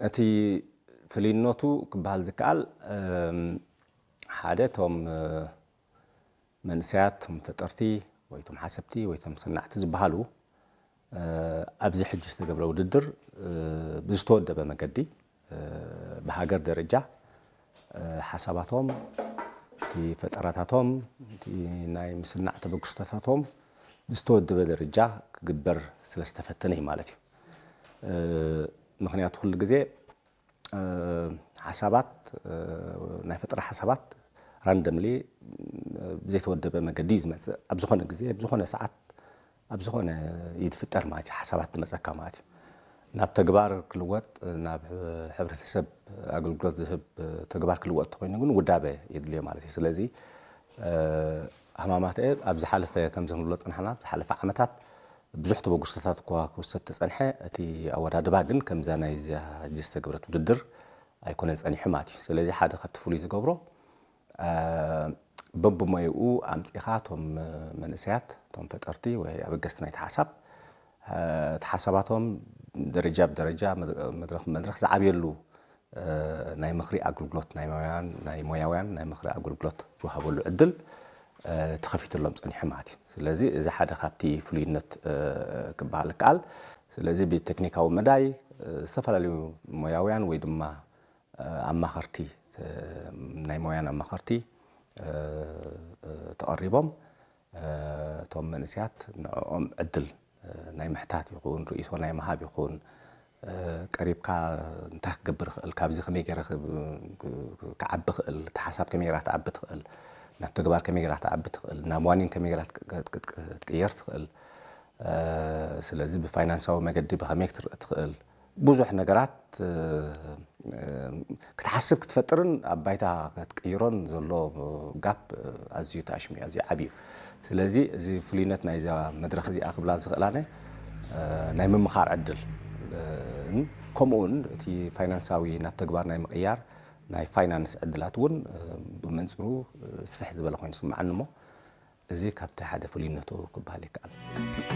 እቲ ፍልይነቱ ክበሃል ዝከኣል ሓደ እቶም መንእሰያት፣ እቶም ፈጠርቲ ወይ እቶም ሓሰብቲ ወይ እቶም ሰናዕቲ ዝበሃሉ ኣብዚ ሕጂ ዝተገብረ ውድድር ብዝተወደበ መገዲ ብሃገር ደረጃ ሓሳባቶም፣ እቲ ፈጠራታቶም፣ እቲ ናይ ምስናዕ ተበግሶታቶም ብዝተወደበ ደረጃ ክግበር ስለ ዝተፈተነ እዩ ማለት እዩ። ምኽንያቱ ኩሉ ግዜ ሓሳባት፣ ናይ ፈጠራ ሓሳባት ራንደምሊ ብዘይተወደበ መገዲ እዩ ዝመፅእ። ኣብ ዝኾነ ግዜ፣ ኣብ ዝኾነ ሰዓት፣ ኣብ ዝኾነ ኢድ ፍጠር ማለት እዩ። ሓሳባት ትመፀካ ማለት እዩ። ናብ ተግባር ክልወጥ፣ ናብ ሕብረተሰብ ኣገልግሎት ዝህብ ተግባር ክልወጥ ተኮይኑ ግን ውዳበ የድልዮ ማለት እዩ። ስለዚ ሃማማተ ኣብ ዝሓለፈ፣ ከምዚ ክንብሎ ዝፀናሕና፣ ኣብ ዝሓለፈ ዓመታት ብዙሕ ተበግሶታት እኳ ክውሰድ ተጸንሐ፣ እቲ ኣወዳድባ ግን ከምዛ ናይዛ ሕጂ ዝተገብረት ውድድር ኣይኮነን ጸኒሑ ማለት እዩ። ስለዚ ሓደ ካብቲ ፍሉይ ዝገብሮ በብሞይኡ ኣምጺኻ እቶም መንእሰያት፣ እቶም ፈጠርቲ ወይ ኣበገስቲ ናይቲ ሓሳብ፣ እቲ ሓሳባቶም ደረጃ ብደረጃ፣ መድረኽ ብመድረኽ ዝዓብየሉ ናይ ምኽሪ ኣገልግሎት፣ ናይ ሞያውያን፣ ናይ ሞያውያን ናይ ምኽሪ ኣገልግሎት ዝወሃበሉ ዕድል ተኸፊትሎም ጸኒሑ ማለት እዩ። ስለዚ እዚ ሓደ ካብቲ ፍሉይነት ክበሃል ይከኣል። ስለዚ ብቴክኒካዊ መዳይ ዝተፈላለዩ ሞያውያን ወይ ድማ ኣማኸርቲ፣ ናይ ሞያን ኣማኸርቲ ተቐሪቦም፣ እቶም መንእሰያት ንዕኦም ዕድል ናይ ምሕታት ይኹን፣ ርእይቶ ናይ ምሃብ ይኹን፣ ቀሪብካ እንታይ ክገብር ይኽእል፣ ካብዚ ከመይ ገይረ ክዓቢ ይኽእል፣ እቲ ሓሳብ ከመይ ገይራ ክትዓቢ ትኽእል፣ ናብ ተግባር ከመይ ገይራ ክትዓቢ ትኽእል፣ ናብ ዋኒን ከመይ ገይራ ክትቅየር ትኽእል፣ ስለዚ ብፋይናንሳዊ መገዲ ብኸመይ ክትርኢ ትኽእል፣ ብዙሕ ነገራት ክትሓስብ ክትፈጥርን ኣብ ባይታ ክትቅይሮን ዘሎ ጋፕ ኣዝዩ ተኣሽሚ፣ ኣዝዩ ዓብዩ። ስለዚ እዚ ፍሉይነት ናይዛ መድረኽ እዚኣ ክብላ ዝኽእላነ ናይ ምምኻር ዕድል፣ ከምኡውን እቲ ፋይናንሳዊ ናብ ተግባር ናይ ምቕያር ናይ ፋይናንስ ዕድላት እውን ብመንፅሩ ስፍሕ ዝበለ ኮይኑ ስምዓኒ እሞ፣ እዚ ካብቲ ሓደ ፍሉይነቱ ክበሃል ይከኣል።